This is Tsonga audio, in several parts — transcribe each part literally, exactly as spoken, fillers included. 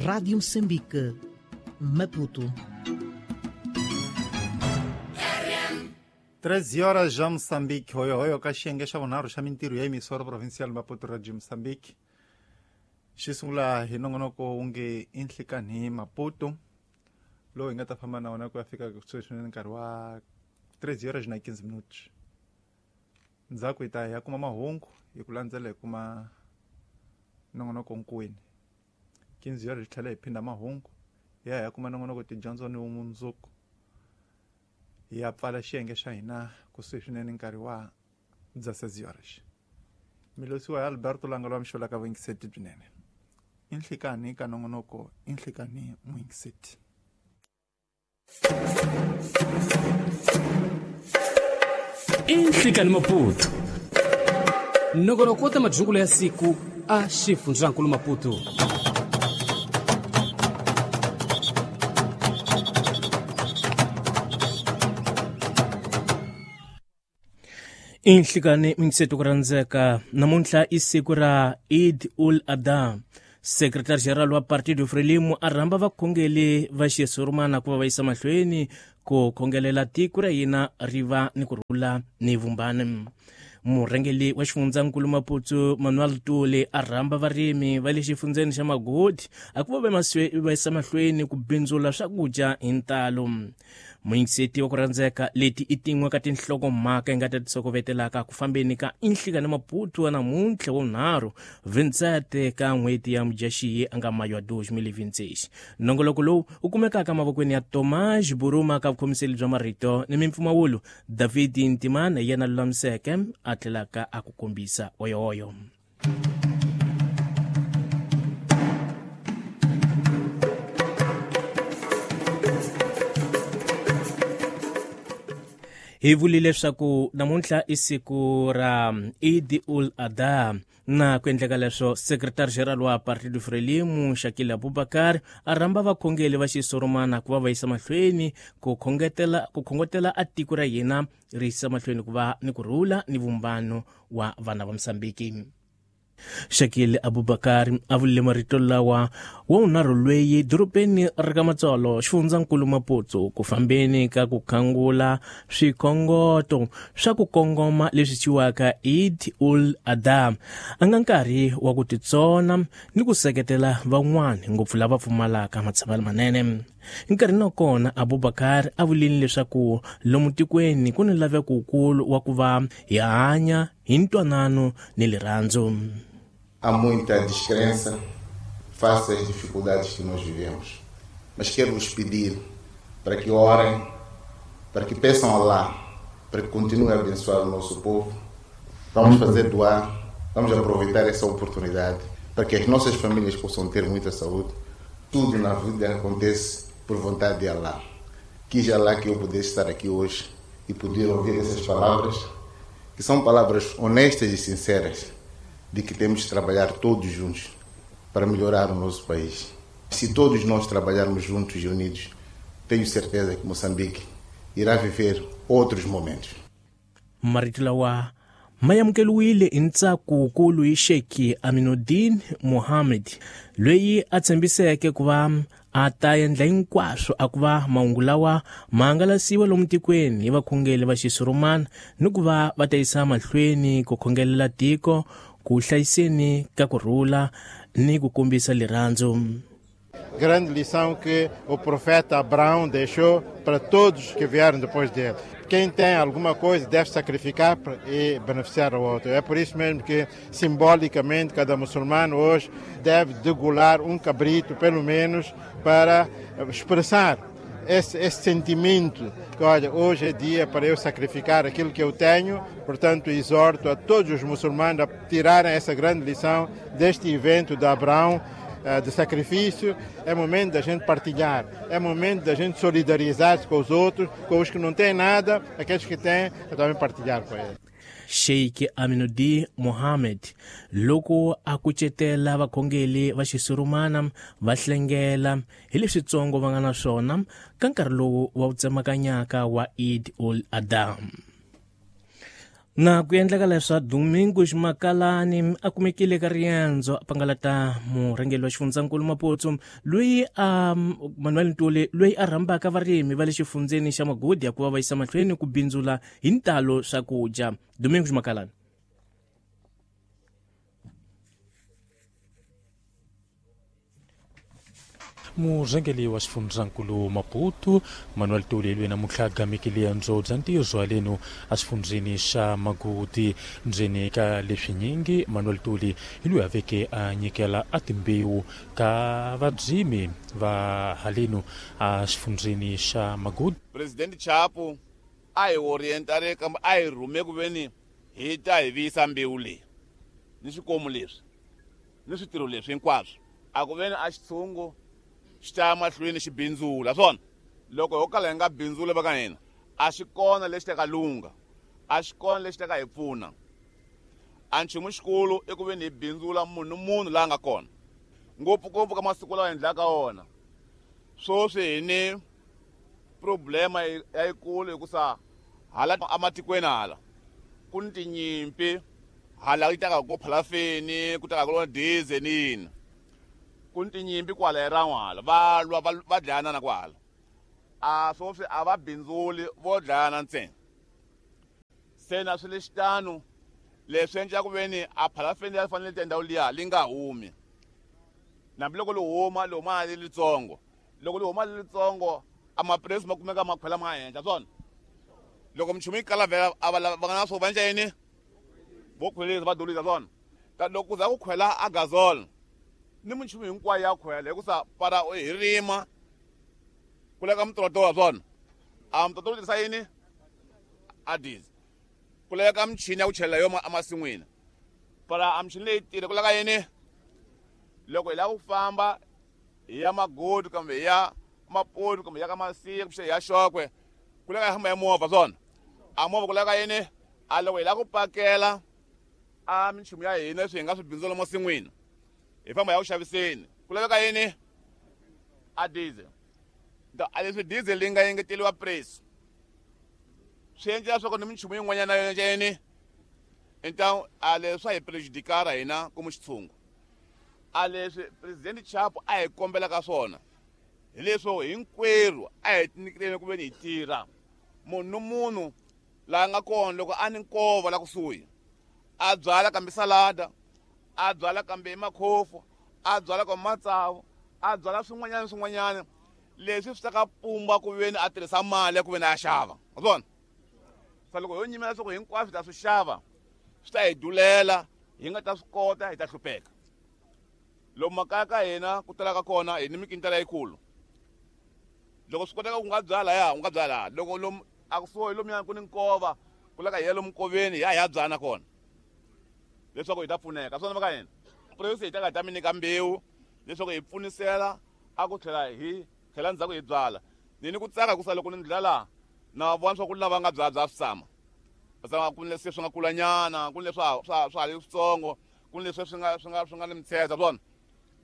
Rádio Moçambique, Maputo. treze horas já Moçambique, hoyo hoyo ka xiyenge xa vunharhu xa mintirho ya emisoro provincial Maputo Radio Moçambique. Xi sungula hi nongonoko wu nge i nhlikanhi Maputo, lowu hi nga ta famba na wona ku ya fika kusuhi swinene nkarhi wa treze horas na quinze minutos. Ndzhaku hi ta ya kuma mahungu hi ku landzela hi kuma nongonoko nkwini. quinze horas hi tlhela hi phinda mahungu hi ya hi ya kuma nongonoko tidyondzo ni vumundzuku. Hi ya pfala xiyenge xa hina kusuhi swinene nkarhi wa dezesseis horas. Milosiwa ya Alberto Langalo wa mixola ka vuyingiseti byinene. I nhlikanhi ka nongonoko i nhlikanhi muyingiseti. I nhlikanhi Maputo. Nongonoko wa majungulo ya siku a xifundzankulu Maputo. I nhlikanhi muyingiseti ku rhandzeka namuntlha i siku ra Eid ul Adha. Secretary General wa Partido Frelimo a rhamba vakhongeli va xisurumana ku va va yisa mahlweni ku khongelela tiko ra hina ri va ni ku rhula ni vumbani. Murhangeli wa xifundzankulu Maputo Manuel Tuli a rhamba varimi va le xifundzeni xa Magodi a ku va va yisa mahlweni ku bindzula swakudya hi ntalo. Muyingiseti wa ku rhandzeka leti i tin'we ka tinhlokomhaka hi nga ta ti sokovetelaka ku fambeni ka inhlikani Maputo wa namuntlha wa vunharhu vintsete ka n'hweti ya Mudyaxihi a nga mayo wa dois mil e vinte e seis. Nongoloko lowu wu kumekaka mavokweni ya Tomás Buruma ka vukhomiseli bya marito ni mimpfumawulo David Ntimana hi yena lulamiseke a tlhelaka a ku kombisa oyoyo. Hi vule leswaku namuntlha i siku ra Eid ul Adha na ku endleka leswo Secretary General wa Partido Frelimo Shakil Abubakar a rhamba vakhongeli va xisurumana ku va va yisa mahlweni ku khongetela ku khongotela a tiko ra hina ri yisa mahlweni ku va ni ku rhula ni vumbano wa vana va Mozambique. Shakil Abubakar a vule marito lawa wa vunharhu lweyi dorobeni ra ka Matsolo xifundzankulu Maputo ku fambeni ka ku khangula swikhongoto swa ku kongoma leswi thyiwaka Eid ul Adha a nga nkarhi wa ku titsona ni ku seketela van'wana ngopfu lava pfumalaka matshamelo manene. Nkarhini wa kona Abubakar a vulile leswaku lomu tikweni ku ni laveko wukulu wa ku va hi hanya hi ntwanano ni rirhandzu. Há muita descrença face às dificuldades que nós vivemos. Mas quero vos pedir para que orem, para que peçam a Allah, para que continuem a abençoar o nosso povo. Vamos fazer doar, vamos aproveitar essa oportunidade para que as nossas famílias possam ter muita saúde. Tudo na vida acontece por vontade de Allah. Quis Allah que eu pudesse estar aqui hoje e poder ouvir essas palavras, que são palavras honestas e sinceras, de que temos de trabalhar todos juntos para melhorar o nosso país. Se todos nós trabalharmos juntos e unidos, tenho certeza que Moçambique irá viver outros momentos. Marito lawa ma amukeriwile hi ntsako wukulu hi Sheikh Aminuddin Mohammed loyi a tshembiseke ku va a ta endla hinkwaswo a ku va mahungu lawa ma hangalasiwa lomu tikweni hi vakhongeli va xisurumana ni ku va va ta yisa mahlweni ku khongelela tiko ku hlayiseni ka ku rhula ni ku kombisa rirhandzu. Grande lição que o profeta Abraão deixou para todos que vieram depois dele. Quem tem alguma coisa deve sacrificar e beneficiar o outro. É por isso mesmo que, simbolicamente, cada muçulmano hoje deve degolar um cabrito, pelo menos, para expressar esse, esse sentimento que, olha, hoje é dia para eu sacrificar aquilo que eu tenho. Portanto, exorto a todos os muçulmanos a tirarem essa grande lição deste evento de Abraão, de sacrifício. É momento da gente partilhar, é momento da gente solidarizar-se com os outros, com os que não têm nada, aqueles que têm, é também partilhar com eles. Sheikh Aminuddin Mohammed loko a kucetela vakhongeli va xisurumana va hlengela hi leswitsongo va nga na swona ka nkarhi lowu wa wu tsemakanyaka wa Eid ul Adha. Na ku endleka leswa Domingos Makalani a kumekile ka riendzo a pangalata murhangeri wa xifundzankulu Maputo loyi a Manuel Ntuli loyi a rhambaka varimi va le xifundzeni xa Magodi ya ku va va yisa mahlweni ku bindzula hi ntalo swakudya. Domingos Makalani. Murhangeri wa xifundzankulu Maputo Manuel Ntuli loyi namuntlha a gamekile riendzo bya ntirho haleno exifundzeni xa Magodi. Ndzeni ka leswinyingi Manuel Ntuli hi loyi a veke a nyikela a timbewu ka vadzimi va haleno exifundzeni xa Magodi. President Chapo a hi orientare kambe a hi rhume ku veni hi ta hi viyisa mbewu leyi ni swikomu leswi ni switirho leswi hinkwaswo a ku veni a xitshungu xi ta mahlweni xi bindzula swona. Loko ho kala hi nga bindzuli va ka hina a xi kona lexi ta ka lungha, a xi kona lexi ta ka hi pfuna. A nchumu xikulu i ku veni hi bindzula munhu munhu laha nga kona, ngopfungopfu ka masiku lawa hi endlaka wona. Sweswi hi ni problema ya yikulu hikusa hala ematikweni hala ku ni tinyimpi, hala yi taka ku phalafeni ku taka ku diesel ni yini, ku ni tinyimpi kwala hi ran'wala va lwa va dlayana kwala. A sweswi a va bindzuli vo dlayana ntsena. Se na swi lexitano leswi endla ku veni a phalafeni ya fanele tindhawu liya li nga humi, hambiloko li huma li huma li litsongo, loko li huma li litsongo a mapuresi ma kumeka ma khwela ma henhla swona. Loko minchumu yi kala vhela a va va nga na swo va endla yini, vo khwelisa va dolisa swona. Ta loko ku za ku khwela a gazol ni minchumu hinkwayo ya khwela hikusa para hi rima ku leka mitotowa swona, a mitotowa wu tirhisa yini a diesel, ku leka michini ya ku chelela yo emasin'wini para a michini leyi tirha ku leka yini. Loko hi lava ku famba hi ya Magodi kumbe hi ya Maputo kumbe hi ya ka Masiya kumbe hi ya Xokwe ku leka hi famba hi movha swona, a movha ku leka yini. A loko hi lava ku pakela a minchumu ya hina leswi hi nga swi bindzula masin'wini hi famba hi ya ku xaviseni ku laveka yini a diesel. A leswi diesel leyi nga engeteriwa price swi endla leswaku ni minchumu yin'wanyana yo endla yini então a leswi swa hi prejudikara hina ku xitshungu. A leswi President Chapo a hi kombelaka swona hi leswo hinkwerhu a hi tinyiketeni ku veni hi tirha. Munhu ni munhu laha nga kona loko a ni nkova la kusuhi a byala kambe salada, a byala kambe makhofu, a byala kambe matsavu, a byala swin'wanyana swin'wanyana leswi swi ta ka pumba ku veni a tirhisa mali ya ku veni a xava wa swona. Sa loko ho nyimela leswaku hinkwaswo hi ta swi xava swi ta hi dulela, hi nga ta swi kota, hi ta hlupheka. Lomu makaya ka hina ku talaka kona hi ni mikintela yikulu. Loko swi koteka ku nga byala ya u nga byala, loko lomu a kusuhi lomuya ku ni nkova ku leka hi ya lomu nkoveni hi ya hi ya byala kona leswaku hi ta pfuneka swona va ka hina. Puresi hi ta ka hi ta mi nyika mbewu leswaku hi pfunisela a ku tlhela hi tlhela ndzhaku hi byala. Ni ni ku tsaka hikusa loko ni ndlela laha na vona swa ku lava nga byala bya swi tshama ku ni leswi swi nga kulanyana, ku ni leswi swa swa swa ha ri switsongo, ku ni leswi swi nga swi nga swi nga ni mitsheza swona.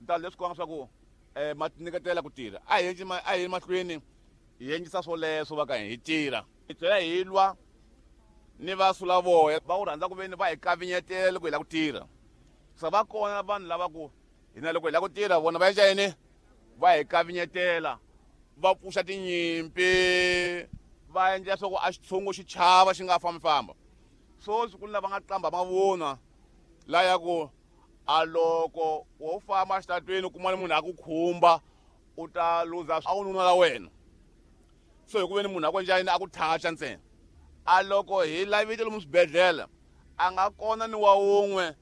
Ta leswi komba swa ku eh ma tinyiketela ku tirha. A hi endli a hi mahlweni hi endlisa swoleswo va ka hi tirha. Hi tlhela hi lwa ni va sulavoya va ku rhandza ku veni va hi kavinyetela loko hi lava ku tirha. Sa va kona vanhu lava ku hina loko hi lava ku tirha vona va endla yini, va hi kavinyetela, va pfuxa tinyimpi, va endla leswaku a xitshungu xi chava xi nga fambi famba. Sweswi ku ni lava nga qamba mavunwa la ya ku a loko wo famba exitarateni u kuma munhu a ku khumba u ta luza a wu nuna la wena. So hi ku veni munhu a ku endla yini a ku thacha ntsena. A loko hi lavile lomu swibedhlele a nga kona ni wa wun'we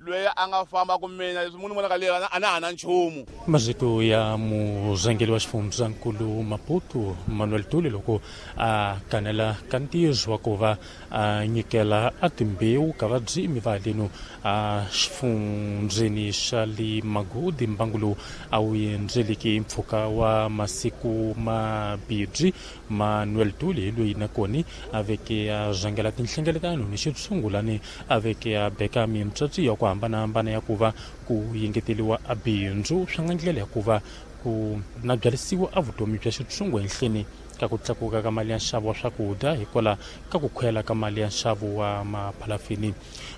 loyi a nga famba ku mina leswi munhu vonaka leyi a na ha na nchumu. Mazito ya murhangeri wa xifundzankulu Maputo Manuel Ntuli loko a kanela ka ntirho wa ku va a nyikela a timbewu ka vadzimi va haleno a xifundzeni xa le Magodi. Mbangu lowu a wu endzeleki mpfhuka wa masiku mabirhi. Manuel Ntuli hi loyi nakona a veke a rhangela tinhlengeletano ni xitshungulani a veke a beka mitsotsi ya ku hambanahambana ya ku va ku yengeteliwa a bindzu swi nga ndlela ya ku va ku na byarisiwa a vutomi bya xitshungu henhleni ka ku tlakuka ka mali ya nxavo wa swakudya hikwalaho ka ku khwela ka mali ya nxavo wa maphalafini.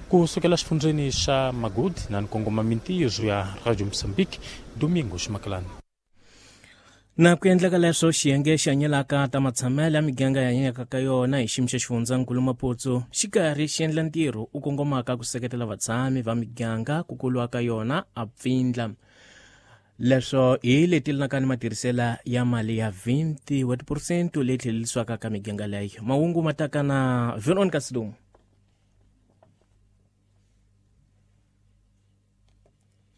Ku sukela xifundzeni xa Magudi na nkongoma mintirho ya Radio Mozambique, Domingo Ximakalani. Na ku endleka leswo xiyenge xi hanyelaka ta matshamelo ya miganga ya hanyaka ka yona hi xiyimo xa xifundzankulu Maputo xi karhi xi endla ntirho u kongomaka ku seketela vatshami va miganga ku kulwa ka yona a pfindla. Leswo hi leti linakani matirhisela ya mali ya twenty wa tiphesente leyi tlhelerisiwaka ka miganga leyo. Mahungu ma taka na Veronica Sidumo.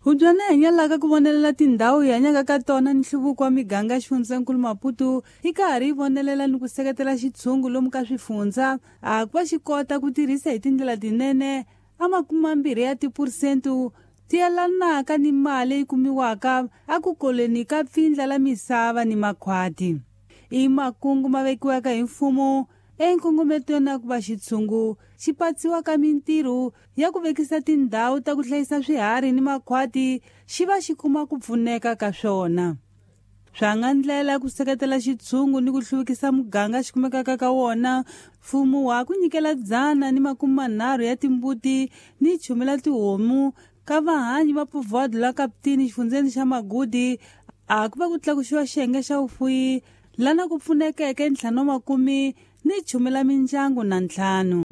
Hubyana hanyalaka ku vonelela tindhawu hi hanyaka ka tona ni nhluvuko wa miganga xifundzankulu Maputo yi karhi yi vonelela ni ku seketela xitshungu lomu ka swifundza a ku va xi kota ku tirhisa hi tindlela tinene a makume ya tiphesente ti yelanaka ni mali leyi kumiwaka a ku koleni ka pfindla la misava ni makhwati. I makungu ma vekiwaka hi mfumo enkongometweni ya ku va xitshungu xi patsiwa ka mintirho ya ku vekisa tindhawu ta ku hlayisa swiharhi ni makhwati xi va xi kuma ku pfuneka ka swona. Swa nga ndlela ku seketela xitshungu ni ku hluvukisa muganga xi kumekaka ka wona, mfumo wa ku nyikela dzana ni makume manharhu ya timbuti ni chumela tihomu ka vahanyi va povoado la Kaptini xifundzeni xa Magudi a ku va ku tlakuxiwa xiyenge xa vufuyi lana ku pfunekeke ntlhanu wa makume ni chumela mindyangu na ntlhanu.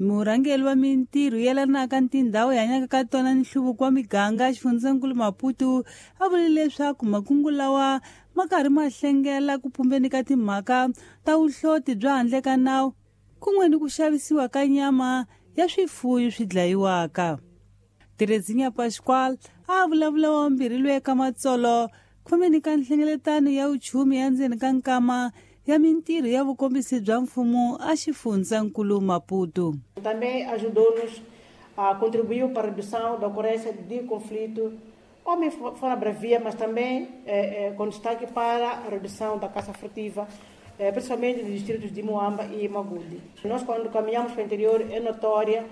Murhangeri wa mintirho yelanaka ni tindhawu hi hanyaka ka tona ni nhluvuko wa miganga xifundzankulu Maputo a vule leswaku makungu lawa ma karhi ma hlengela ku pumbeni ka timhaka ta vuhloti bya handle ka nawu kun'we ni ku xavisiwa ka nyama ya swifuyo swi dlayiwaka. Terezinha Pascoal a vulavula wa mbirhi loyi eka Matsolo khomeni ka nhlengeletano ya vuchumi ya ndzeni ka nkama ya mintirho ya vukombisi bya mfumo a xifundzankulu Maputo. Também ajudou-nos, a contribuiu para a redução da ocorrência de conflito, homem fora bravia, mas também eh, eh, com destaque para a redução da caça furtiva, eh, principalmente nos distritos de Moamba e Magude. Nós, quando caminhamos para o interior, é notória,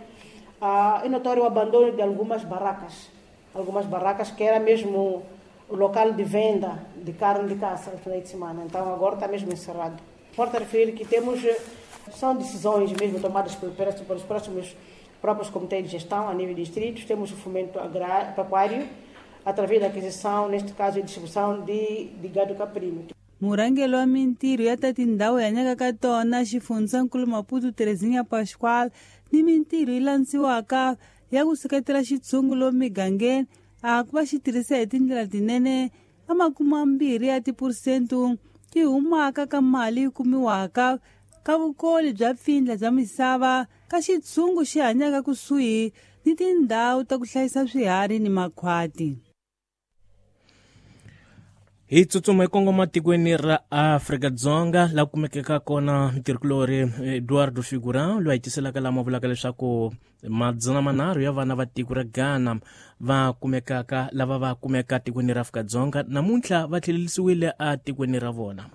ah, é notório o abandono de algumas barracas, algumas barracas que era mesmo o local de venda de carne de caça no final de semana. Então agora está mesmo encerrado. Importa referir que temos, são decisões mesmo tomadas pelos próximos próprios comitês de gestão a nível de distritos. Temos o fomento agrário, pecuário, através da aquisição, neste caso, e distribuição de, de gado caprino. Murhangeri wa mintirho ya ta tindhawu hi hanyaka ka tona xifundzankulu Maputo Terezinha Pascoal ni mintirho yi landziwaka ya ku seketela xitshungu lomu migangeni a ku va xi tirhisa hi tindlela tinene a makume mambirhi ya tiphesente ti humaka ka mali yi kumiwaka ka vukoli bya pfindla bya misava ka xitshungu xi hanyaka kusuhi ni tindhawu ta ku hlayisa swiharhi ni makhwati. Hi tsutsuma hi kongoma tikweni ra Afrika-Dzonga la kumekeka kona mutirhikulori Eduardo Figuran loyi a tiselaka lama vulaka leswaku madzana manharhu ya vana va tiko ra Ghana va kumekaka lava va kumeka tikweni ra Afrika-Dzonga namuntlha va tlhelerisiwile a tikweni ra vona.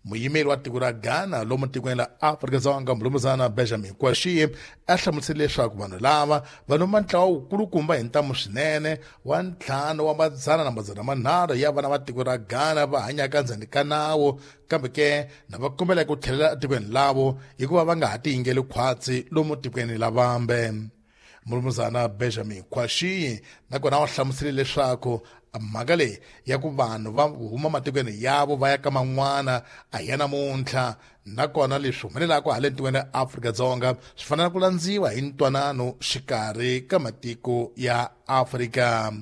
Muyimeri wa tiko ra Ghana lomu tikweni ra Afrika-Dzonga mulumuzana Benjamin Kwashie a hlamusele leswaku vanhu lava va noma ntlawa wukulukumba hi ntamu swinene wa ntlhanu wa madzana na madzana manharhu ya vana va tiko ra Ghana va hanyaka ndzeni ka nawu, kambe ke na va kombela ku tlhelela etikweni lavo hikuva va nga ha tiyingeli khwatsi lomu tikweni la vambe. Mulumuzana Benjamin Kwashie nakona wa hlamusele leswaku mhaka leyi ya ku vanhu va huma matikweni yavo va ya ka man'wana a hi ya namuntlha, nakona leswi humelelaka hala tikweni ra Afrika-Dzonga swi fanele ku landziwa hi ntwanano xikarhi ka matiko ya Afrika.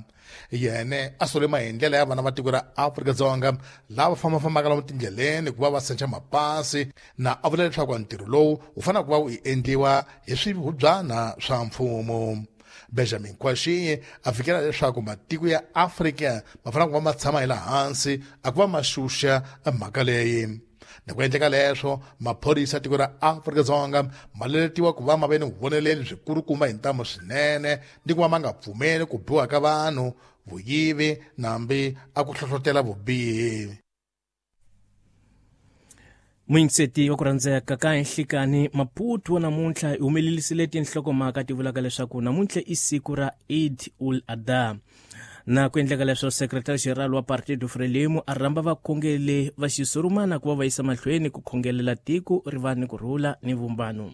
Yene a sole maendlelo ya vana va tiko ra Afrika-Dzonga lava fambafambaka lomu tindleleni ku va va sencha mapasi, na a vula leswaku ntirho lowu wu fanele ku va wu endliwa hi swihubyana swa mfumo. Benjamin Kwashie a fikela leswaku matiko ya Afrika ma fanele ku va ma tshama hi laha hansi a ku va ma xuxa mhaka leyi. Na ku endleka leswo maphorisa ya tiko ra Afrika-Dzonga ma leletiwa ku va ma ve ni vuvoneleli byikulukumba hi ntamu swinene ni ku va ma nga pfumeli ku biwa ka vanhu, vuyivi nambi a ku hlohlotela vubihi. Muyingiseti wa ku rhandzeka ka Nhlikani Maputo namuntlha hi humelelisile tinhlokomhaka ti vulaka leswaku namuntlha i siku ra Eid ul Adha. Na ku endleka leswo secretary general wa Partido Frelimo a rhamba vakhongeli va xisurumana ku va va yisa mahlweni ku khongelela tiko ri va ni ku rhula ni vumbano.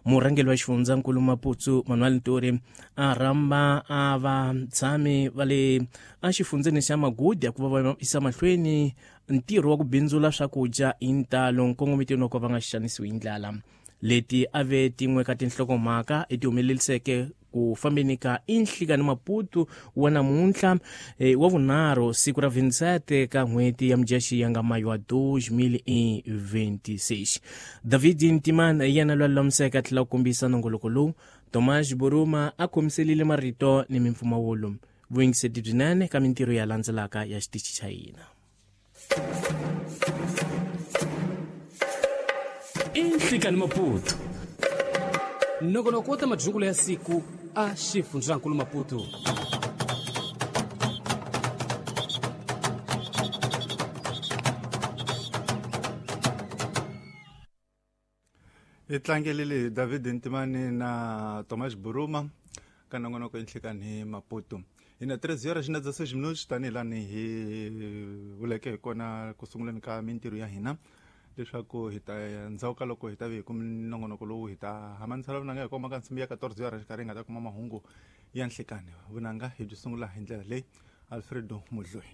Murhangeri wa xifundzankulu Maputo Manuel Nturi a rhamba a vatshami va le exifundzeni xa Magudu ku va va yisa mahlweni ntirho wa ku bindzula swakudya hi ntalo nkongometweni wa ku va nga xanisiwi hi ndlala. Leti a ve tin'we ka tinhlokomhaka leti humeleliseke ku fambeni ka Nhlikani Maputo wa namuntlha e, wa vunharhu siku ra twenty-seven ka n'hweti ya Mudyaxihi ya nga mayo wa twenty twenty-six. David Ntimana yena loyi a lulamiseke a tlhela ku kombisa nongoloko lowu. Tomas Boruma a khomiselile marito ni mimpfumawulo. Vuyingiseti byinene ka mintirho ya landzelaka ya xitichi xa hina. Nhlikani Maputo nongonoko wa ta madyungulo ya siku a xifundzankulu Maputo. Hi tlangelile David Ntimani na Tomas Buruma ka nongonoko Nhlikani Maputo. Hi na treze horas na dezesseis minutos tanihi lani hi vuleke hi kona ku sunguleni ka mintirho ya hina leswaku hi ta ndzhaku ka loko hi ta ve hi kumi nongonoko lowu hi ta hamanisela vunanga hi koma ka nsimbi ya quatorze horas xikarhi hi nga ta kuma mahungu ya nhlikani. Vunanga hi byi sungula hi ndlela leyi. Alfredo Mudloyi.